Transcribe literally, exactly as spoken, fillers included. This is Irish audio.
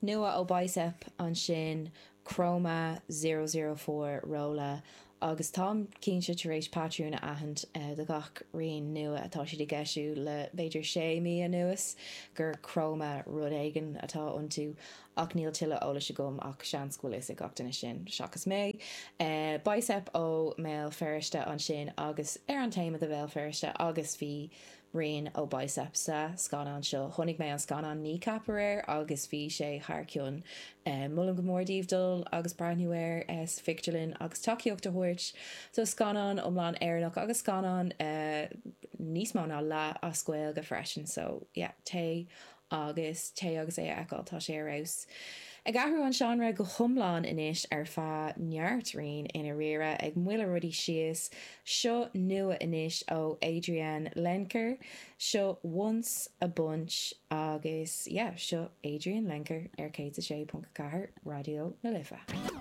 Nua ó Bicep ansin Chroma zero zero four Rolla agus táim cinnte tar éis patrún a aithint do gach rian nua atá siad ag eisiú le b'fhéidir sé mí anuas gur Chroma rud éigin atá iontu ach níl tuilleadh eolais agam ach seans go bhfuil fhios ag gach duine sin seachas mé. Bicep ó mBéal Feirste ansin agus ar an téama de Bhéal Feirste agus bhí rian ó Bicep sa scannán seo. Chonaic mé an scannán Kneecap aréir agus bhí sé thar cionn. Molaim go mór daoibh dul agus breathnú air sa phictiúrlann agus tacaíocht a thabhairt do scannán iomlán Éireannach agus scannán níos mó ná leath as Gaeilge freisin. So yeah, téigh agus téigh agus é a fheiceáil, tá sé ar fheabhas. Ag athrú an seánra go hiomlán anois ar feadh neart rian i ndáiríre, ag moilleadh rudaí síos. Seo nua anois ó Adrianne Lenker. Seo Once a Bunch agus yeah, seo Adrianne Lenker ar céad a sé ponc a ceathair Raidió na Life.